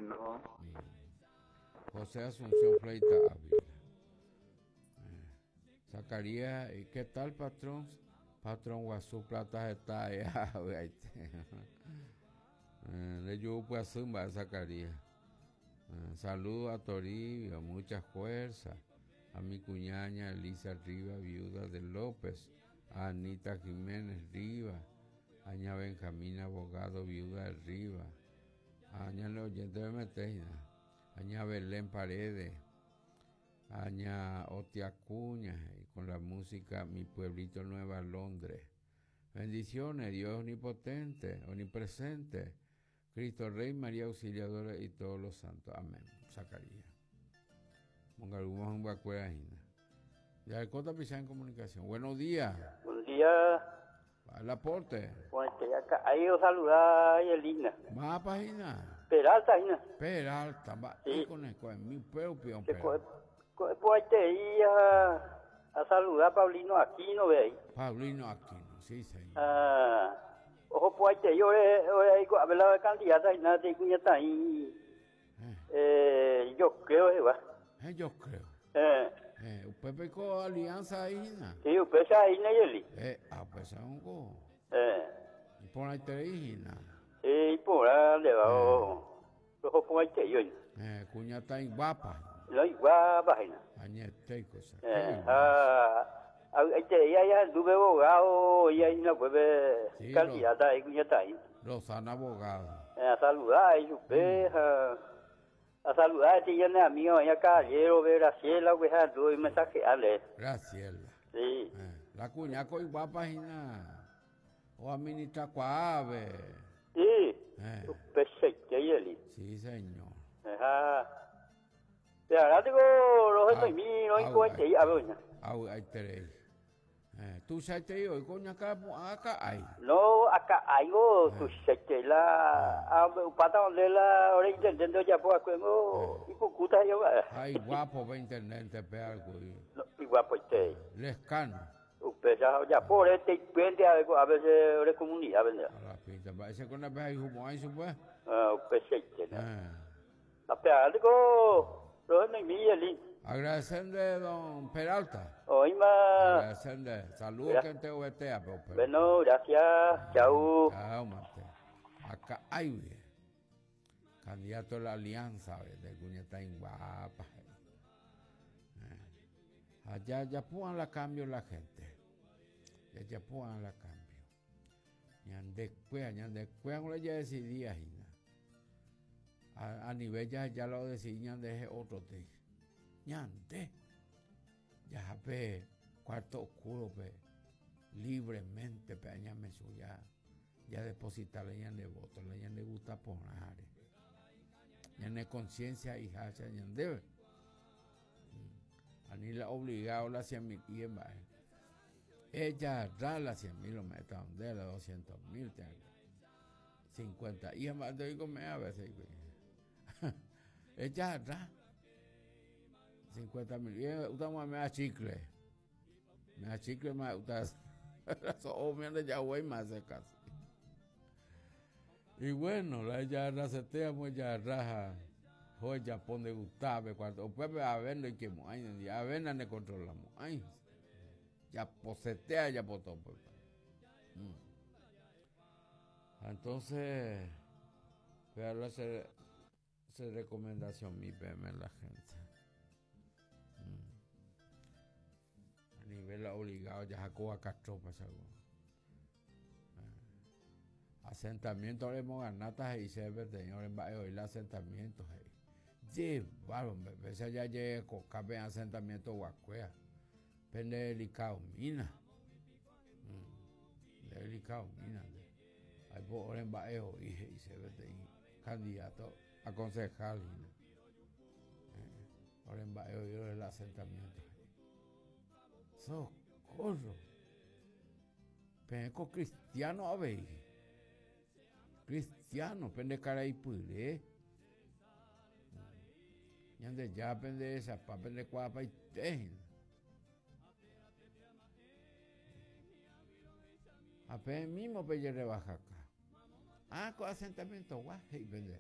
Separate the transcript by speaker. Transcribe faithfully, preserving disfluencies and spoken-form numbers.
Speaker 1: No.
Speaker 2: Mm. José Asunción Fleita Ávila. Eh. Zacarías, ¿y qué tal, patrón? Patrón Guazú Plata está allá. Le llevo pues a Zacarías. Eh, saludo a Toribio, mucha fuerza. A mi cuñaña Elisa Rivas, viuda de López. A Anita Jiménez Rivas. A Aña Benjamín Abogado, viuda de Rivas. A Aña Oyente de Metejina. Aña Belén Paredes. Aña Otia Cuña, y con la música Mi Pueblito Nueva Londres. Bendiciones, Dios omnipotente, omnipresente, Cristo Rey, María Auxiliadora y todos los santos. Amén. Zacarías. Mongalguma un bacuera. Ya el Cota Pizá en comunicación. Buenos días.
Speaker 3: Buenos días.
Speaker 2: Al aporte.
Speaker 3: Bueno, acá. Ahí os saluda Elina.
Speaker 2: Va página.
Speaker 3: Peralta, Ina.
Speaker 2: Peralta, va.
Speaker 3: Sí.
Speaker 2: Con el con mi peo, peón,
Speaker 3: Pues te a, a saludar a Paulino Aquino, ve ahí.
Speaker 2: Paulino Aquino, sí, señor.
Speaker 3: Ah, ojo, pues te yo a ver la candidata y nada, te cuñata ahí. Eh, yo creo, eh, va.
Speaker 2: Eh, yo creo.
Speaker 3: Eh.
Speaker 2: Eh, usted pecó alianza ahí, ¿no?
Speaker 3: Sí, usted se ahí, Nayeli.
Speaker 2: Eh, ah, pues hongo.
Speaker 3: Eh.
Speaker 2: Y por ahí te dije, ¿no?
Speaker 3: Sí, por ahí le va. Ojo, pues te yo.
Speaker 2: Eh, cuñata ahí guapa.
Speaker 3: No, guapa, ¿no?
Speaker 2: Añete y cosas.
Speaker 3: Eh, ah, ahí te ya ya anduve abogado y ahí no puede
Speaker 2: sí,
Speaker 3: candidata ahí, cuñata ahí.
Speaker 2: Rosana Abogado.
Speaker 3: Eh, a saludar y usted, a, a saludar a este amigo, allá caballero, ve Graciela, pues anduve y mensajearle.
Speaker 2: Graciela.
Speaker 3: Sí.
Speaker 2: Eh, la cuñaco y guapa, Gina. O administra cuave.
Speaker 3: Sí.
Speaker 2: Eh.
Speaker 3: Perfecto, Yeli.
Speaker 2: Sí, señor.
Speaker 3: Ajá. Te agradezco los de mí, no hay cuenta y a ver.
Speaker 2: Au, ahí te Eh, tú sabes te digo, coño acá acá hay.
Speaker 3: No, acá hay go, tú sabes que la pata donde la ahora intentando ya por acuerdo y pucuta yo.
Speaker 2: Ay, guapo ve intendente pe algo.
Speaker 3: Y guapo este.
Speaker 2: Lescano.
Speaker 3: Usted ya ya por este puente a a veces ahora comunidad, ¿verdad?
Speaker 2: A la pinta, va ese con la vez ahí humo ahí pues.
Speaker 3: Ah, perfecto. La pe algo.
Speaker 2: Agradecerle, don Peralta.
Speaker 3: Oima.
Speaker 2: Agradecerle. Saludos que te ovetea, pero.
Speaker 3: Bueno, gracias. Chau.
Speaker 2: Chao, mate. Acá hay, bien. Candidato a la alianza, de cuñeta en guapa. Eh. Allá ya pongan la cambio la gente. Ya ya pongan la cambio. Ñande cuea, ñande cuea, no le ya decidía, Gina. A, a nivel ya, ya lo decidí, ñande es otro te. Ñande. Ya pe, cuarto oscuro, pe, libremente, pe, ñame su ya, ya depositarle ñande voto, le ñande gusta poner. Ñande conciencia y hacha ñande. A ni la obligado la cien mil y en ella da la cien mil o meta donde la doscientos mil, cincuenta y en te digo me a veces. Ella da cincuenta mil. Y usted me da chicle. Me da chicle, me da oh, me ya voy más casi. Y bueno, la ella rasetea, pues ya raja. Joya pone gustave cuando pues a ver no que ay, a ver no controlamos. Ay. Ya posetea, ya potó pues. Mm. Entonces, pero hacer hacer recomendación mi P M la gente. Mm. A nivel obligado ya sacó a Castro para algo. Asentamiento ahora hemos ganado y se ve señor en el asentamiento. Llevaron, bebé, ya llegó cabe asentamiento guacuea. Pende delicado mina. Mm. Delicado mina. Hay por en baeo y se ve candidato a concejal. Ahora en baeo yo el asentamiento. Socorro. Peneco cristiano a ver. Cristiano, pende cara y puré. Ñande ya pende esa, pa pende cuapa y tejen. A pe mismo pelle rebaja acá. Ah, con asentamiento, guau, y pende.